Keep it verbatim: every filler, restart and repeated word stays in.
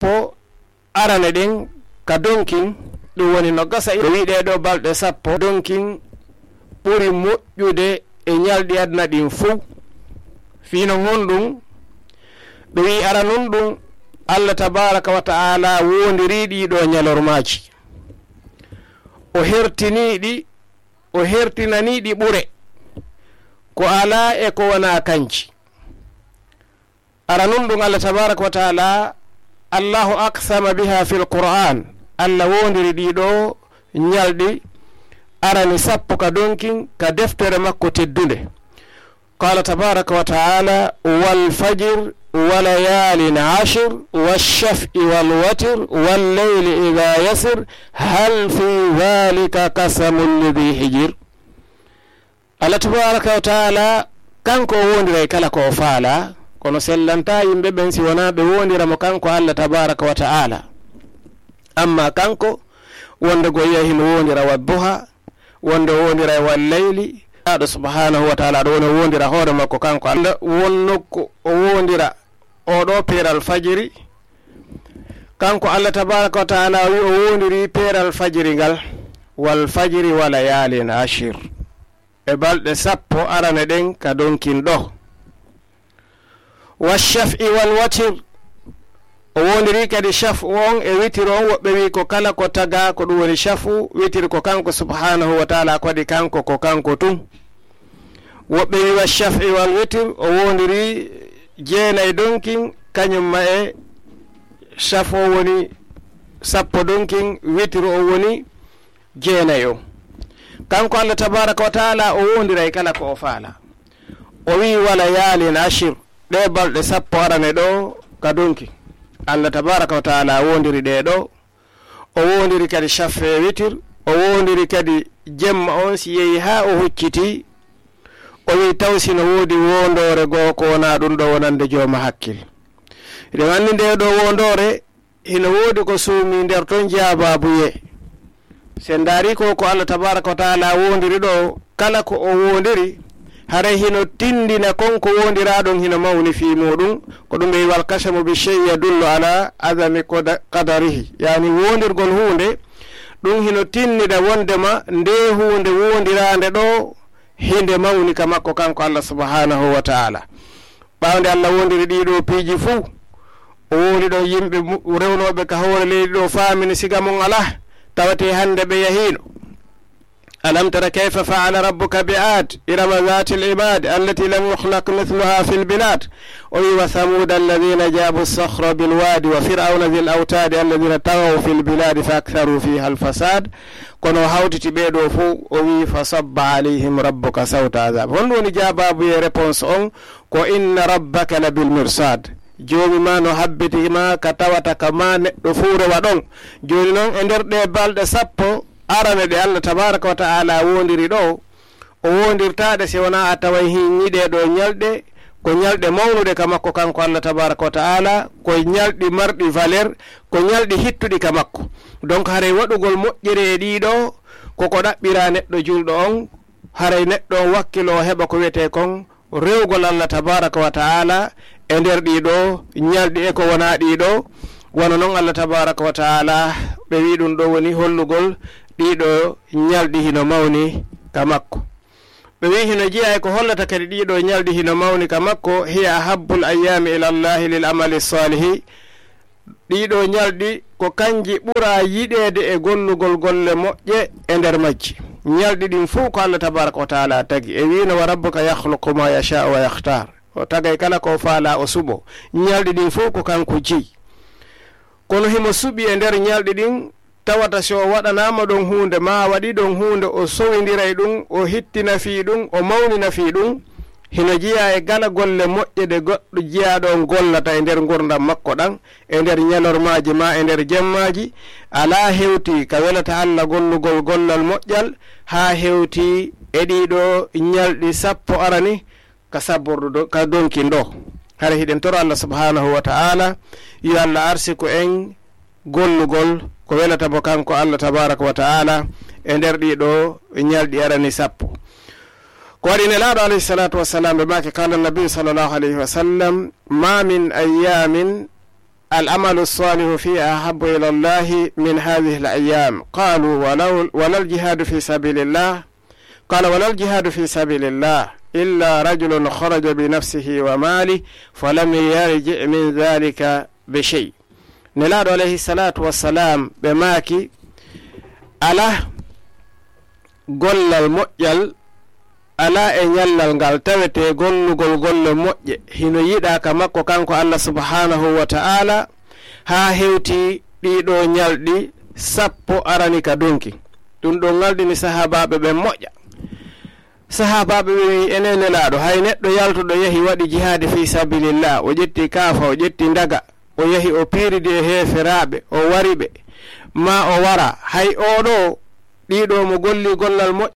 sappo arane ɗen ka donkin, ɗum woni no gasa, o wi'i ɗee ɗoo balɗe sappo donkin ɓuri moƴƴude e ñalɗi aduna ɗin fow. Fii non honɗum? Ɓe wi'i aranun ɗum, Allah tabaaraka wa ta'ala woondirii ɗii ɗoo ñalormaaji. O hertinii ɗi, o hertinanii ɗi ɓure. Ko alaa e ko wonaa kanji. Aranun ɗum Allah tabaaraka wa ta'ala, Allahu aqsama biha fil Qur'an. Allah woondiri ɗii ɗoo ñalɗi arani sappo ka donkin ka deftere makko teddunde. Qala tabaaraka wa ta'ala, "Wal fajr wa layalin ashir, wash shaf'i wal watr, wal layli idha yasir, hal fi dhalika qasamun li dhi hijr." Allah tabaaraka wa ta'ala, kanko o woondiray kala ko o faalaa, kono sellantaa yimɓe ɓen si wonaa ɓe woondira mo kanko Allah tabaaraka wa ta'ala. Amma kanko, wonde ko yiya himo woondira wa duha, wonde o woondira e wal layli, aɗo subhanahu wa ta'ala, ɗo woni o woondira hoore makko kanko Allah, wonno ko o woondira o ɗo peeral fajiri, kanko Allah tabaaraka wa ta'ala o wi o woondiri peeral fajiri ngal, "Wal fajri wa layalin ashir." E balɗe sappo arane ɗen ka donkin ɗo. "Wa shaf'i wal watir." O woondiri kadi shaf'u on e witiri on, woɓɓe wi ko kala ko taga, ko ɗum woni shaf'u, witiri ko kanko subhanahu wa ta'ala, ko waɗi kanko, ko kanko tun. Woɓɓe wi wa shaf'i wal witir, o woondiri jeenay donkin, kañum ma e shaf'u o woni sappo donkin, witiri o woni jeenay on. Kanko Allah tabaaraka wa ta'ala o woondiray kala ko o faala. O wi'i, "Wa layalin ashir," ɗee balɗe sappo arane ɗo ka donkin. Allah tabaaraka wa ta'ala woondiri ɗee ɗo. O woondiri kadi shaf'u e witir. O woondiri kadi jemma on si yehi haa o hucciti. O wi'i, "Taw si no woodi woondoore goo ko wonaa ɗum ɗo wonande jooma hakkil." Hiɗen anndi ndee ɗo woondoore hino woodi ko suumi nder ton jaabaabuye. Si en ndaari ko, ko Allah tabaaraka wa ta'ala woondiri ɗo, kala ko o woondiri, haray hino tindina kon ko woondiraa ɗon hino mawni fii muuɗum. Ko ɗum ɓe wi'i, "Wal qasamu bi shay'in yadullu ala azami qada-, qadarihi." Yaani woondirgol huunde, ɗum hino tindina wondema ndee huunde woondiraande ɗo, hinde mawni ka makko kanko Allah subhanahu wa ta'ala. Ɓaawo nde Allah woondiri ɗii ɗoo piiji fuu, o wooli ɗon yimɓe mu-, rewnooɓe ka hoore leydi ɗoo, faamini siga mon alaa, tawatee hannde ɓe yahiino. "Alam tara kayfa fa'ala rabbuka bi Ad, irama dhatil imad, allati lam yukhlaq mithluha fil bilad." O wi'i, "Wa thamuda alladhina jabu sakhra bil wadi, wa fir'auna dhil autadi, alladhina taghaw fil biladi fa aktharu fiha al fasad." Kono o hawtiti ɓee ɗoo fow, o wi'i, "Fa sabba alayhim rabbuka sawta adhab." Honɗum woni jaabaabu e réponse on? Ko, "Inna rabbaka labil mirsad." Joomi ma no habbiti ma ka tawata ka ma neɗɗo fuu rewa ɗon. Jooni non, e nder ɗee balɗe sappo arane ɗe Allah tabaaraka wa ta'ala woondiri ɗo, o woondirtaa ɗe si wonaa a taway hiin ɗee ɗoo ñalɗe, ko ñalɗe mawnuɗe ka makko kanko Allah tabaaraka wa ta'ala, ko ñalɗi marɗi valeur, ko ñalɗi hittuɗi ka makko. Donc, haray waɗugol moƴƴere e ɗii ɗoo, ko ko ɗaɓɓiraa neɗɗo julɗo on, haray neɗɗo on wakkiloo heɓa ko wiyetee kon rewgol Allah tabaaraka wa ta'ala e nder ɗii ɗoo ñalɗi e ko wonaa ɗii ɗoo. Wano non Allah tabaaraka wa ta'ala ɓe wi'i ɗum ɗoo woni hollugol ɗii ɗoo ñalɗi hino mawni ka makko. Ɓe wi'i hino jeyaa e ko hollata kadi ɗii ɗoo ñalɗi hino mawni ka makko, "Hiya ahabbul ayyami ila Allahi lil amali salihi." Ɗii ɗoo ñalɗi ko kanji ɓuraa yiɗeede e gollugol golle moƴƴe e nder majji. Ñalɗi ɗin fow ko Allah tabaaraka wa ta'ala tagi. E wi'no, "Wa rabbuka yakhluqu ma yasha'u wa yakhtar." O tagay kala ko o faalaa, o suɓo. Ñalɗi ɗin fow ko kanko jeyi. Kono himo suɓi e nder ñalɗi ɗin, tawata si o waɗanaama ɗon huunde, maa a waɗii ɗon huunde, o sowindiray ɗum, o hittina fii ɗum, o mawnina fii ɗum. Hino jeyaa e kala golle moƴƴe ɗe goɗɗo jiyaaɗo on gollata e nder ngurndan makko ɗan, e nder ñalormaaji maa e nder jemmaaji. Alaa hewtii ka welata Alla gollugol gollal moƴƴal, haa hewtii e ɗii ɗoo ñalɗi sappo arani ka sabbordu do-, ka donkin ɗoo. Hara hiɗen toro Alla subhanahu wa ta'ala, yo Alla arsiku en gollugol ko welata mo kanko Alla tabaraka wa ta'ala e nder ɗii ɗoo ñalɗi arani sappo. Ko waɗi Nelaaɗo alayhi salatu wassalam ɓe maaki, qala nabi sallallahu alayhi wa sallam, "Ma min ayyamin العمل الصالح فيها أحب إلى الله من هذه الأيام. قالوا: ولو، ولا الجهاد في سبيل الله؟ قال: ولا الجهاد في سبيل الله إلا رجل خرج بنفسه وماله فلم يرجع من ذلك بشيء. Nelaaɗo alayhi salaatu wassalaam, ɓe maaki, alaa gollal moƴƴal, alaa e ñallal ngal tawetee gollugol golle moƴƴe, hino yiɗaa ka makko kanko Allah subhanahu wa ta'ala, haa hewti ɗii ɗoo ñalɗi sappo arani ka donki. Ɗum ɗon ŋaldini sahaabaaɓe ɓen moƴƴa. Sahaabaaɓe ɓe wi'i, enen Nelaaɗo, hay neɗɗo yaltuɗo yahi waɗi jihaadi fii sabilillah, o ƴetti kaafa, o ƴetti ndaga, o yahi o piiridi e heeferaaɓe, o wari ɓe, maa o wara, hay oo ɗoo, ɗii ɗoo mo golli gollal moƴƴal,